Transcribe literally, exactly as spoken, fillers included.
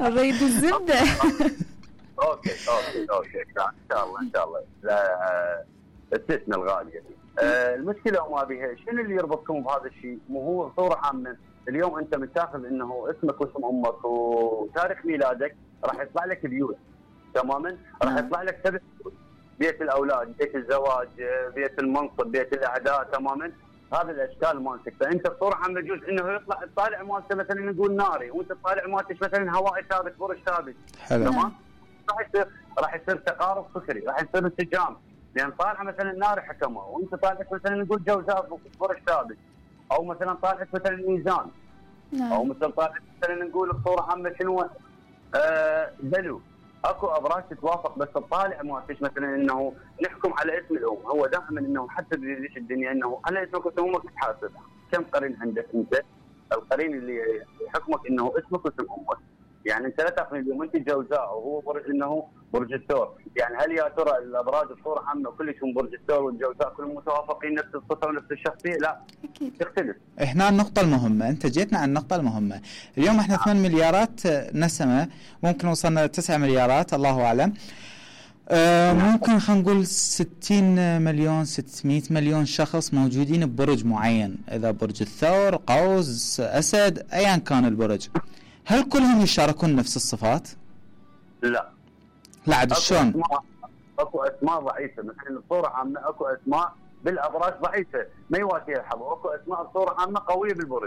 الريد الزبدة. اوكي اوكي اوكي ان شاء الله ان شاء الله. لا استثنى الغاليه. آه المشكله وما بها، شنو اللي يربطكم بهذا الشيء؟ مو هو صوره عامه، اليوم انت متاخذ انه اسمك واسم امك وتاريخ ميلادك، راح يطلع لك بيوت تماما، راح يطلع لك سبع بيوت، بيت الاولاد، بيت الزواج، بيت المنصب، بيت الاعداء تماما، هذه الاشكال مالتك. فانت بصوره عامه يجوز انه يطلع الطالع مالته مثلا نقول ناري، وانت الطالع مالتك مثلا هوائي ثابت، برج ثابت. تمام؟ راح يصير راح يصير تقارب فكري، راح يصير انسجام، لان طالعه مثلا ناري حكمه، وانت طالعك مثلا نقول جوزاء برج ثابت، او مثلا طالعك مثلا ميزان، او مثلا طالعك مثلا نقول بصوره عامه شنو آه بلو. اكو ابراج تتوافق، بس الطالع مالتش مثلا انه نحكم على اسم الام، هو دائما انه حتى بليش الدنيا انه على اسمك واسم امك تحاسب. كم قرين عندك انت؟ القرين اللي يحكمك انه اسمك واسم امك. يعني انت لا تاخذ اليوم انت جوزاء وهو برج انه برج الثور، يعني هل يا ترى الابراج بصوره عامه كلهم برج الثور والجوزاء كلهم متوافقين نفس الصفه ونفس الشخصيه؟ لا اكيد تختلف. هنا النقطه المهمه، انت جيتنا عن النقطه المهمه. اليوم احنا ثمان مليارات نسمه، ممكن وصلنا تسعة مليارات الله اعلم. آه ممكن خلينا نقول ستين مليون ستمائة مليون شخص موجودين ببرج معين، اذا برج الثور، قوس، اسد، ايا كان البرج. هل كلهم يشاركون نفس الصفات؟ لا لا عاد شلون؟ اكو اسماء ضعيفه، مثلا بصوره عامه اكو اسماء بالابراج ضعيفه ما يواتيها الحظ، واكو اسماء بصوره عامه قويه بالبرج.